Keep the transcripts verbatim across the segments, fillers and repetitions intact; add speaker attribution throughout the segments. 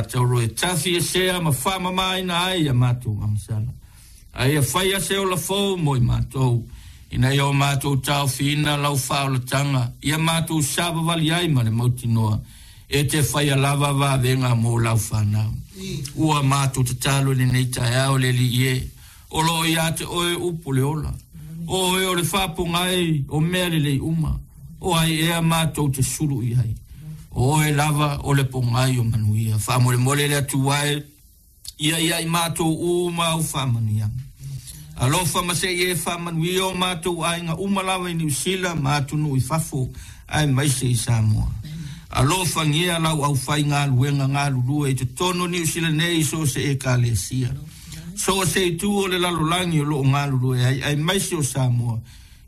Speaker 1: faatauro e tafi e sea ma faamamaina ai ia matou agasala. A ia faia se ola fou mo i matou, ina ia o matou taofiina lau faaolataga, ia matou savavali ai ma le mautinoa, e te faia lava vavega mo lau fanau. Ua matou tatalo i lenei taeao le Alii e, o loo ia te oe upu le ola. O oe o le faapogai o mea lelei uma, o ai ea matou te sulu i ai. O oe lava o le pogai o manuia. Faamolemole le Atua e, ia ia i matou uma au faamanuiaga. Alofa ma se i e faamanuia o matou aiga uma lava i Niu Sila ma atunuu i fafo, aemaise i Samoa. Alofagia lau aufaigaluega galulue i totonu o Niu Sila nei i so o se ekalesia. So o se itu o le lalolagi o loo galulue ai, aemaise o Samoa,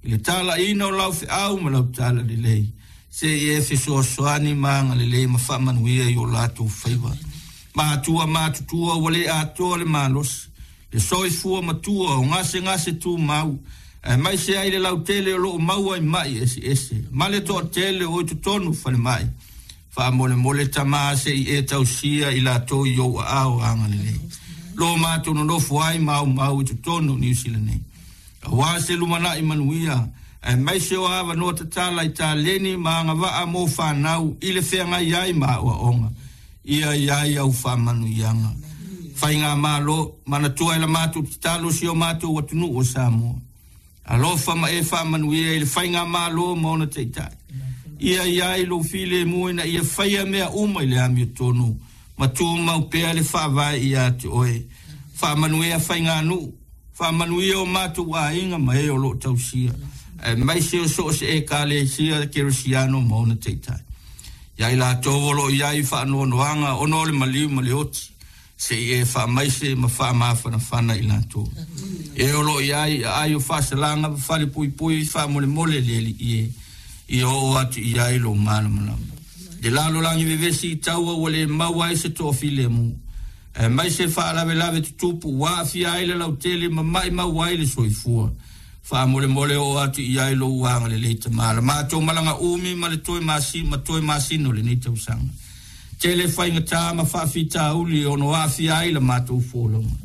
Speaker 1: i le talaiina o lau feau ma lau talalelei. Se i e fesoasoani ma agalelei ma faamanuia i o latou faiva. Matua matutua ua le atoa le malosi, le soifua matua o gasegase tumau, aemaise ai le lautele o loo maua i mai eseese, ma le toatele o i totonu falemai. Faamolemole Tama se i e tausia i latou i ou aao agalelei. Lo matou nonofo ai ma aumau i totonu o Niu Sila nei. Aua se lumanai manuia, aemaise o avanoa tatala i taleni ma agavaa mo fanau i le feagai ai ma aoaoga. Ia i ai au faamanuiaga. Faigamalo, manatua i la matou tatalo si o matou atunuu o Samoa. Alofa ma e faamanuia i le faigamalo ma ona taitai. Ia i ai lou filemu ina ia faia mea uma i le amiotonu, ma tumau pea le faavae ia te oe. Faamanuia faiganuu, faamanuia o matou aiga ma e o loo tausia, aemaise o so o se ekalesia kerisiano ma ona taitai. Ia i latou o loo i ai faanoanoaga ona o le maliu ma le oti, se i e faamaise ma faamafanafana i latou. E o loo i ai aai o faasalaga ma falepuipui faamolemole le Alii e, ia oo atu i ai lou malamalama. Le lalolagi vevesi i taua ua le maua ai se toafilemu, aemaise faalavelave tutupu ua aafia ai le lautele ma maimau ai le soifua. Faamolemole oo atu i ai lou agalelei Tama. La matou malaga umi ma le toe masi ma toe masina o lenei tausaga. Tele faigata ma faafitauli ono aafia ai la matou folauga.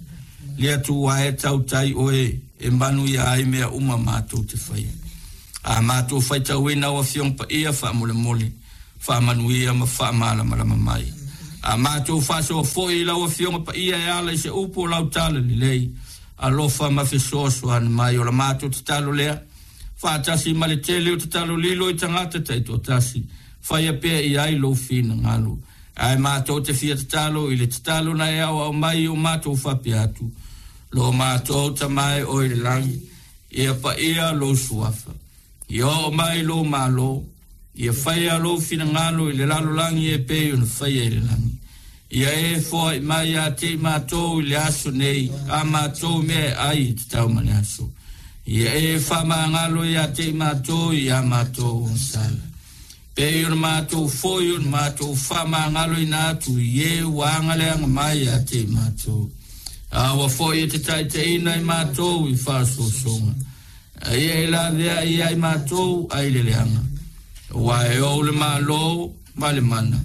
Speaker 1: Le Atua e tautai oe e manuia ai mea uma matou te faia. A matou faitauina au Afioga Paia faamolemole, faamanuia ma faamalamalama mai. A matou faasoa foi i lau Afioga Paia e ala i se upu o lau talalelei, alofa ma fesoasoani mai o la matou tatalo lea. Faatasi ma le tele o tatalo lilo i tagata taitoatasi, faia pea i ai lou finagalo. Ae matou te fia tatalo i le tatalo na e aoao mai o matou faapea atu. Lo matou Tama e oe i le lagi, ia paia lou suafa. Ia oo mai lou malo, ia faia lou finagalo i le lalolagi e pei ona faia i le lagi. Ia e foai mai ia te i matou i le aso nei, a matou mea e ai i tatau ma le aso. Ia e faamagalo ia te i matou i a matou agasala. Pei ona matou foi ona matou faamagaloina atu i e ua agaleaga mai ia te i matou. Aua foi e te taitaiina i matou i faasoasoga. A ia e laveai ia i matou ai le leaga. Aua e ou le malo ma le mana,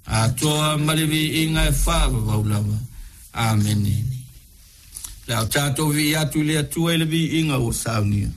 Speaker 1: atoa ma le viiga e faavavau lava. Amene. Le a o tatou viia atu i le Atua i le viiga ua saunia.